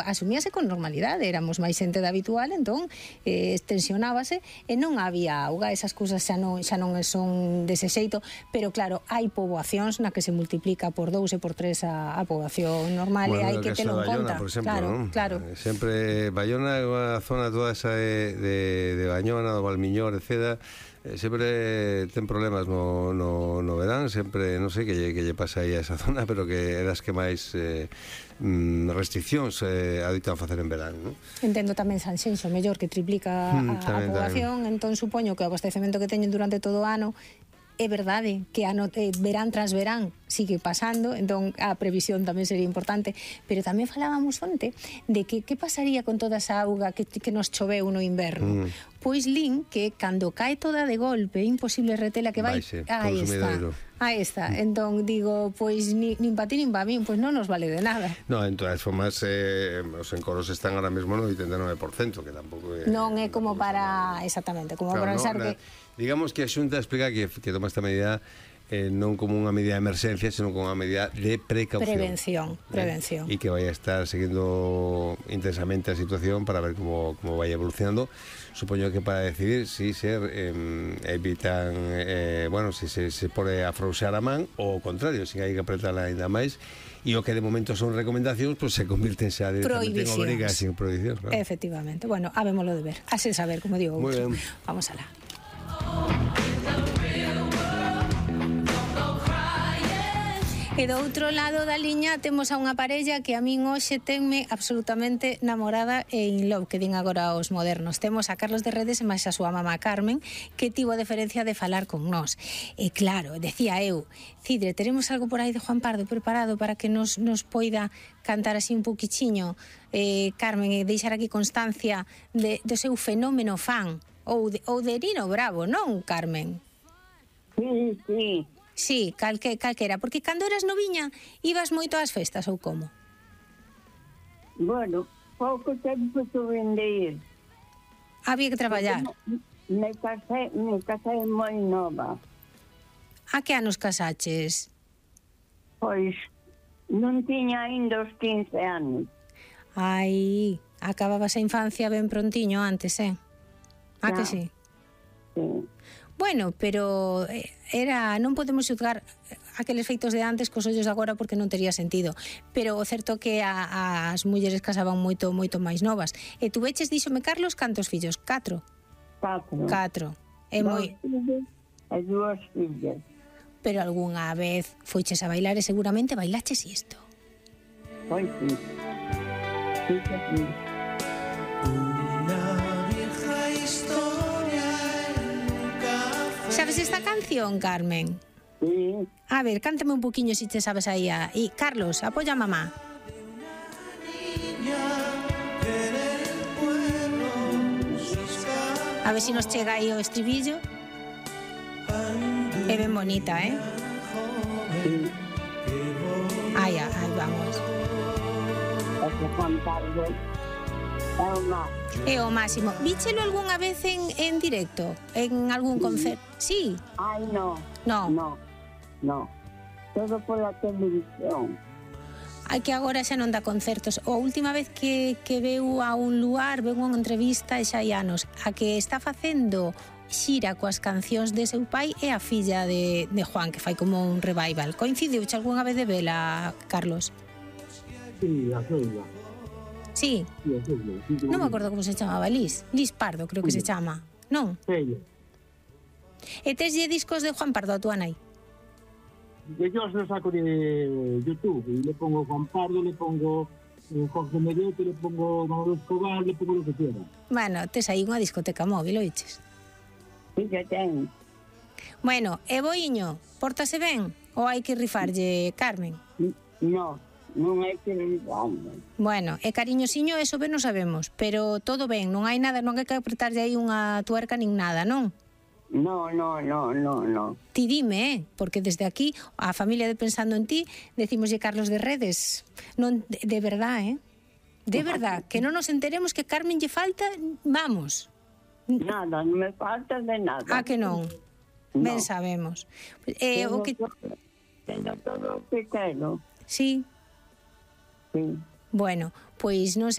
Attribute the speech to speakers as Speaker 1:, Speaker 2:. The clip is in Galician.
Speaker 1: asumíase con normalidade, éramos máis xente da habitual, entón tensionábase e non había auga, esas cousas xa non son dese xeito, pero claro, hai poboacións na que se multiplica por 2 e por 3 a poboación normal, e hai que telo en conta.
Speaker 2: Por exemplo,
Speaker 1: claro,
Speaker 2: ¿no?
Speaker 1: Claro.
Speaker 2: Sempre Bayona é unha zona toda esa de Bañona, do Valmiñor, etc., sempre ten problemas no verán, sempre, non sei que lle pasa aí a esa zona, pero que é das que máis restriccións aditan a facer en verán, non?
Speaker 1: Entendo tamén Sanxenxo, mellor, que triplica a poboación, entón supoño que o abastecemento que teñen durante todo o ano é verdade que verán tras verán sigue pasando, entón a previsión tamén sería importante, pero tamén falábamos onte de que pasaría con toda esa auga que nos choveu no inverno. Pois lin que cando cae toda de golpe é imposible retela, que vai... Aí está. Entón digo, pois nin pa ti nin pa min, pois non nos vale de nada.
Speaker 2: No, en todas formas os encoros están ahora mesmo no 89%, que tampouco é...
Speaker 1: Non é como para... Exactamente, como para pensar que...
Speaker 2: Digamos que a Xunta explica que toma esta medida non como unha medida de emerxencia, senón como unha medida de precaución.
Speaker 1: Prevención.
Speaker 2: E que vai a estar seguindo intensamente a situación para ver como vai evolucionando. Supoño que para decidir si evitan, si se pode afrouxar a man ou ao contrario, si hai que apretala ainda máis. E o que de momento son recomendacións, pois se convirten xa directamente en obrigacións, prohibicións. Claro.
Speaker 1: Efectivamente. Bueno, habémolo de ver. A sen saber, como digo.
Speaker 2: Muy ben.
Speaker 1: Vamos alá. E do outro lado da liña temos a unha parella que a min hoxe tenme absolutamente namorada e in love, que din agora os modernos. Temos a Carlos de Redes e máis a súa mamá Carmen, que tivo a deferencia de falar con nós. E claro, decía eu, Cidre, teremos algo por aí de Juan Pardo preparado para que nos poida cantar así un pouquichiño, Carmen, e deixar aquí constancia do seu fenómeno fan, ou de Nino Bravo, non, Carmen?
Speaker 3: Sí.
Speaker 1: Sí, calquera, porque cando eras noviña ibas moito ás festas ou como?
Speaker 3: Bueno, pouco tempo tuve de ir.
Speaker 1: Había que traballar.
Speaker 3: Me casei moi nova.
Speaker 1: A que anos casaches?
Speaker 3: Pois non tiña ainda os 15 anos.
Speaker 1: Ai, acababas a infancia ben prontiño antes, A que sí?
Speaker 3: Sí.
Speaker 1: Bueno, pero non podemos xudgar aqueles feitos de antes cos ollos de agora porque non tería sentido. Pero o certo que as mulleres casaban moito máis novas. E tu veches, díxome Carlos, cantos fillos? 4? 4. É moi...
Speaker 3: E 2 fillas.
Speaker 1: Pero algunha vez foiches a bailar e seguramente bailaches isto.
Speaker 3: Pois sí. Sí.
Speaker 1: Sabes esta canción, Carmen?
Speaker 3: Sí.
Speaker 1: A ver, cántame un poquinho si te sabes aí. E Carlos, apoya a mamá. A ver si nos chega aí o estribillo. É ben bonita,
Speaker 3: Sí.
Speaker 1: Aí vamos.
Speaker 3: Ese Juan Pardo
Speaker 1: é o máximo. Víchelo algunha vez en directo? En algún concerto? Sí.
Speaker 3: Ai, no. Todo pola televisión.
Speaker 1: Hai que agora xa non dá concertos. A última vez que veu a un lugar, veu unha entrevista e xa hai anos. A que está facendo xira coas cancións de seu pai é a filla de Juan, que fai como un revival. Coincidiu xa algunha vez de vela, Carlos?
Speaker 4: Sí, a Celia.
Speaker 1: Sí. Non me acordo como se chamaba, Liz Pardo, creo que se chama, non?
Speaker 4: Celia.
Speaker 1: E teslle discos de Juan Pardo a túa nai?
Speaker 4: Yo os lo saco de YouTube y le pongo Juan Pardo, le pongo Jorge Medete, le pongo Manolo Escobar, le pongo lo que quiera.
Speaker 1: Bueno, tes aí unha discoteca móvil, oiches?
Speaker 3: Sí, que ten.
Speaker 1: Bueno, e boiño, pórtase ben? Ou hai que rifarlle, Carmen?
Speaker 3: Non hai que rifarlle.
Speaker 1: Bueno, e cariñosiño, eso ben non sabemos, pero todo ben, non hai nada, non hai que apretarlle aí unha tuerca nin nada, non?
Speaker 3: No.
Speaker 1: Ti dime, porque desde aquí a familia de Pensando en Ti decimoslle Carlos de Redes, non de verdad, de verdad, que non nos enteremos que Carmen lle falta, vamos.
Speaker 3: Nada, non me falta de nada.
Speaker 1: Ah, que non? Ben sabemos. O que
Speaker 3: Teño todo o que quero.
Speaker 1: Sí.
Speaker 3: Sí.
Speaker 1: Bueno, pois non